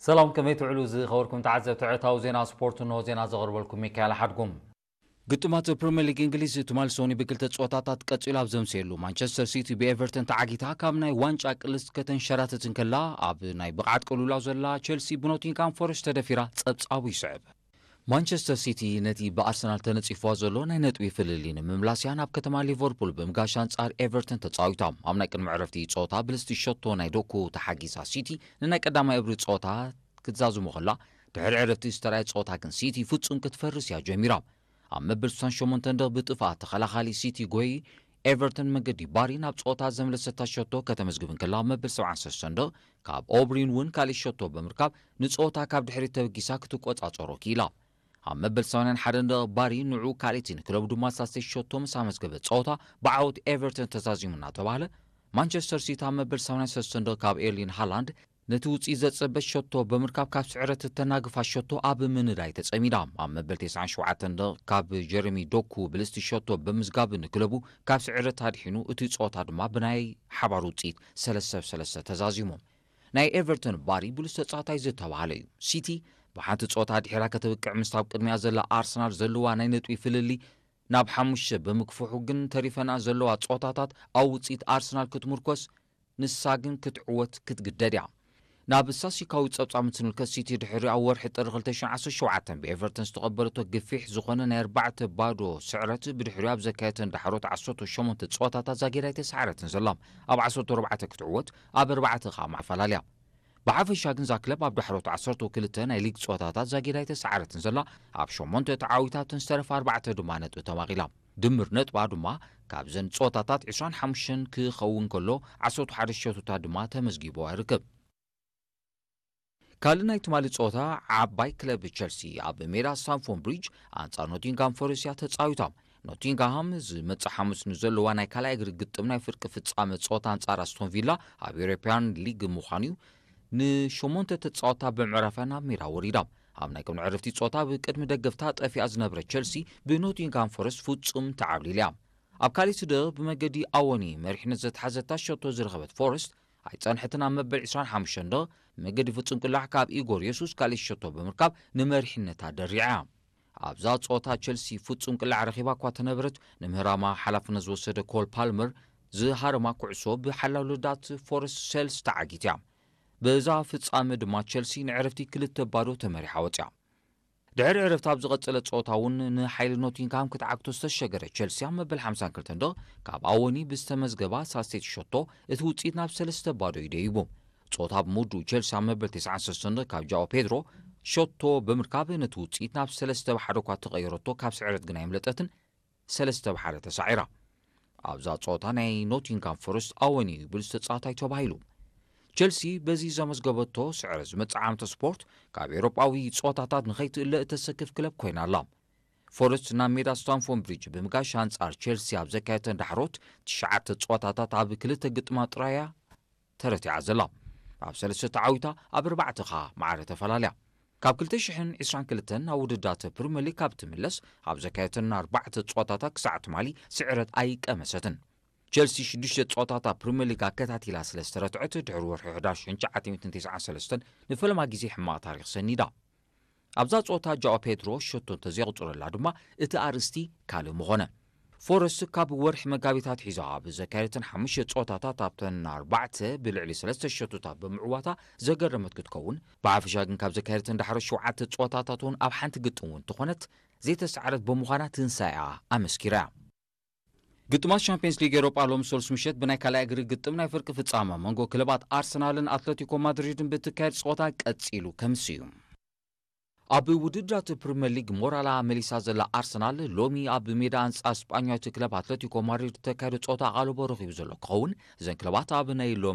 ሰላም፣ ከመይ ትውዕሉ ዝኸበርኩም ተዓዘብቲ ዕለታዊ ዜና ስፖርት? እንሆ ዜና ዘቕርበልኩም ሚካኤል ሓድጉም። ግጥማት ፕሪምየር ሊግ እንግሊዝ ትማሊ ሰኑይ ብክልተ ጸወታታት ቀጺሉ ኣብ ዘምሰየሉ፣ ማንቸስተር ሲቲ ብኤቨርተን ተዓጊታ ካብ ናይ ዋንጫ ቅልስ ከተንሸራትት እንከላ፣ ኣብ ናይ ብቕዓት ቅልውላው ዘላ ቸልሲ ብኖቲንግሃም ፎረስት ተደፊራ ጸብጻቡ ይስዕብ። ማንቸስተር ሲቲ ነቲ ብኣርሰናል ተነጺፍዋ ዘሎ ናይ ነጥቢ ፍልልይ ንምምላስያ ናብ ከተማ ሊቨርፑል ብምጋሽ ኣንጻር ኤቨርተን ተጻዊታ። ኣብ ናይ ቅድሚ ዕረፍቲ ጸወታ ብልስቲ ሸቶ ናይ ዶኩ ተሓጊዛ ሲቲ ንናይ ቀዳማይ እብሪ ጸወታ ክትዛዝሞ ከላ፣ ድሕሪ ዕረፍቲ ዝተራየ ጸወታ ግን ሲቲ ፍጹም ክትፈርስ እያ ጀሚራ። ኣብ መበል ስሳን ሸሞንተን ደቕ ብጥፍኣት ተኸላኻሊ ሲቲ ጎይ ኤቨርተን መገዲ ባሪ ናብ ጸወታ ዘምለሰታ ሸቶ ከተመዝግብ እንከላ፣ ኣብ መበል ሰብዓን ሰለስተን ደቕ ካብ ኦብሪን እውን ካልእ ሸቶ ብምርካብ ንጸወታ ካብ ድሕሪት ተበጊሳ ክትቆጻጸሮ ክኢላ። ኣብ መበል ሰማንያን ሓደን ደቕ ባሪ ንዑ ካልእቲ ንክለቡ ድማ ሳልሰይቲ ሸቶ ምስ ኣመዝገበ ጸወታ ብዓወት ኤቨርተን ተዛዚሙ እናተባህለ፣ ማንቸስተር ሲቲ ኣብ መበል ሰማንያን ሰለስተን ደቕ ካብ ኤርሊን ሃላንድ ነቲ ውጽኢት ዘጸበት ሸቶ ብምርካብ ካብ ስዕረት እተናግፋ ሸቶ ኣብ ምንዳይ ተጸሚዳ። ኣብ መበል ተስዓን ሸውዓተን ደቕ ካብ ጀረሚ ዶኩ ብልስቲ ሸቶ ብምዝጋብ ንክለቡ ካብ ስዕረት ኣድሒኑ፣ እቲ ጸወታ ድማ ብናይ ሓባር ውጽኢት ሰለስተ ብ ሰለስተ ተዛዚሙ። ናይ ኤቨርተን ባሪ ብሉጽ ተጻዋታይ ዝተባህለ እዩ። ሲቲ ብሓንቲ ጸወታ ድሒራ ከተብቅዕ ምስታ ኣብ ቅድሚያ ዘላ ኣርሰናል ዘለዋ ናይ ነጥቢ ፍልልይ ናብ ሓሙሽተ ብምክፍሑ ግን ተሪፈና ዘለዋ ጸወታታት ኣብ ውጽኢት ኣርሰናል ክትምርኮስ፣ ንሳ ግን ክትዕወት ክትግደድ እያ። ናብ ስታስቲካዊ ጸብጻብ ምስ ንልከት፣ ሲቲ ድሕሪ ኣብ ወርሒ ጥሪ ክልተ ሽሕን ዓሰርተ ሸውዓተን ብኤቨርተን ዝተቐበለቶ ግፊሕ ዝኾነ ናይ ኣርባዕተ ባዶ ስዕረት ብድሕሪኡ ኣብ ዘካየተን ዳሕሮት ዓሰርተ ሸሞንተ ጸወታታት ዛጊዳ ኣይተሳዕረትን ዘላ። ኣብ ዓሰርተ ኣርባዕተ ክትዕወት፣ ኣብ ኣርባዕተ ከኣ ማዕረ ፈላልያ። ብሓፈሻ ግን እዛ ክለብ ኣብ ዳሕሮት ዓሰርተ ክልተ ናይ ሊግ ጸወታታት ዛጊዳ ኣይተሳዕረትን ዘላ። ኣብ ሸሞንተ ተዓዊታ ኣብተን ዝተረፋ ኣርባዕተ ድማ ነጥቢ ተማቒላ። ድምር ነጥባ ድማ ካብዘን ጸወታታት ዕስራን ሓሙሽተን ክኸውን ከሎ፣ ዓሰርተ ሓደ ሸቶታት ድማ ተመዝጊብዋ ይርከብ። ካልእ ናይ ትማሊ ጸወታ፣ ዓባይ ክለብ ቸልሲ ኣብ ሜዳ ስታንፎርድ ብሪጅ ኣንጻር ኖቲንግሃም ፎረስት እያ ተጻዊታ። ኖቲንግሃም ዝመጽእ ሓሙስ ንዘለዋ ናይ ካልኣይ እግሪ ግጥም ናይ ፍርቂ ፍጻመ ጸወታ ኣንጻር ኣስቶን ቪላ ኣብ ኤውሮፓያን ሊግ ምዃኑ እዩ። ንሸሞንተ ተጻወታ ብምዕራፍያ ናብ ሜዳ ወሪዳ። ኣብ ናይ ቅድሚ ዕረፍቲ ጸወታ ብቅድሚ ደገፍታ ጠፊኣ ዝነበረ ቸልሲ ብኖቲንግሃም ፎረስት ፍጹም ተዓብሊላ እያ። ኣብ ካልእ ስደቕ ብመገዲ ኣወኒ መሪሕነት ዘትሓዘታ ሸቶ ዝረኸበት ፎረስት ኣይጸንሐትን። ኣብ መበል ዕስራን ሓሙሽተን ደቕ ብመገዲ ፍጹም ቅላዕ ካብ ኢጎር የሱስ ካልእ ሸቶ ብምርካብ ንመሪሕነታ ደሪዓ እያ። ኣብዛ ጸወታ ቸልሲ ፍጹም ቅላዕ ረኺባ እኳ ተነበረት፣ ንምህራማ ሓላፍነት ዝወሰደ ኮል ፓልመር ዝሃረማ ኩዕሶ ብሓላው ልዳት ፎረስት ሴልስ ተዓጊት እያ። በዛ ፍጻመ ድማ ቸልሲ ንዕረፍቲ ክልተ ባዶ ተመሪሓ ወጽያ። ድሕሪ ዕረፍቲ ኣብ ዝቐጸለ ጸወታ እውን ንሓይሊ ኖቲንግሃም ክትዓግቶ ዝተሸገረ ቸልሲ ኣብ መበል ሓምሳን ክልተን ደቕ ካብ ኣወኒ ብዝተመዝገባ ሳልሰይቲ ሸቶ እቲ ውጽኢት ናብ ሰለስተ ባዶ እዩ ደይቡ። ጸወታ ብምውድኡ ቸልሲ ኣብ መበል ተስዓን ሰለስተን ደቕ ካብ ጃኦ ፔድሮ ሸቶ ብምርካብ ነቲ ውጽኢት ናብ ሰለስተ ብ ሓደ እኳ ተቐየረቶ፣ ካብ ስዕረት ግን ኣይምለጠትን። ሰለስተ ብ ሓደ ተሳዒራ። ኣብዛ ጸወታ ናይ ኖቲንግሃም ፎረስት ኣወኒ እዩ ብሉጽ ተጻዋታይ ተባሂሉ። ቸልሲ በዚ ዘመዝገበቶ ስዕረት ዝመጽእ ዓመተ ስፖርት ካብ ኤውሮጳዊ ጸወታታት ንኸይትእለ እተሰክፍ ክለብ ኮይና ኣላ። ፎረስት ናብ ሜዳ ስታንፎርድ ብሪጅ ብምጋሽ ኣንጻር ቸልሲ ኣብ ዘካየተን ዳሕሮት ትሽዓተ ጸወታታት ኣብ ክልተ ግጥማ ጥራይ እያ ተረቲዓ ዘላ። ኣብ ሰለስተ ተዓዊታ፣ ኣብ ኣርባዕተ ኸኣ ማዕረ ተፈላልያ። ካብ ክልተ ሽሕን ዕስራን ክልተን ናብ ውድድራት ፕሪምየር ሊግ ካብ ትምለስ፣ ኣብ ዘካየተን ኣርባዕተ ጸወታታት ክሳዕ ትማሊ ስዕረት ኣይቀመሰትን። ቸልሲ ሽዱሽተ ጸወታታት ፕሪምየር ሊግ ኣከታቲላ ስለ ዝተረትዐት፣ ድሕሪ ወርሒ ሕዳር ሽሕን ትሽዓተ ሚእትን ተስዓን ሰለስተን ንፈለማ ግዜ ሕማቕ ታሪኽ ሰኒዳ። ኣብዛ ጸወታ ጃኦ ፔድሮ ሸቶ እንተዘየቑጽረላ ድማ፣ እቲ ኣርእስቲ ካልእ ምኾነ። ፎረስት ካብ ወርሒ መጋቢት ኣትሒዛ ኣብ ዘካየደተን ሓሙሽተ ጸወታታት ኣብተን ኣርባዕተ ብልዕሊ ሰለስተ ሸቶታት ብምዕዋታ ዘገረመት ክትከውን፣ ብሓፈሻ ግን ካብ ዘካየደተን ዳሕሮት ሸውዓተ ጸወታታት እውን ኣብ ሓንቲ ግጥም እውን እንተኾነት ዘይተሳዕረት ብምዃና ትንሳኤኣ ኣመስኪራ እያ። ግጥማት ሻምፒየንስ ሊግ ኤውሮጳ ሎሚ ሰሉስ ምሸት ብናይ ካልኣይ እግሪ ግጥም ናይ ፍርቂ ፍጻመ መንጎ ክለባት ኣርሰናልን ኣትለቲኮ ማድሪድን ብትካየድ ጸወታ ቀጺሉ ከምስ እዩ። ኣብ ውድድራት ፕሪምየር ሊግ ሞራላ መሊሳ ዘላ ኣርሰናል፣ ሎሚ ኣብ ሜዳ ኣንጻር ስጳኛዊት ክለብ ኣትለቲኮ ማድሪድ ተካይዶ ጸወታ ኣቓልቦ ረኺቡ ዘሎ ክኸውን፣ እዘን ክለባት ኣብ ናይ ሎሚ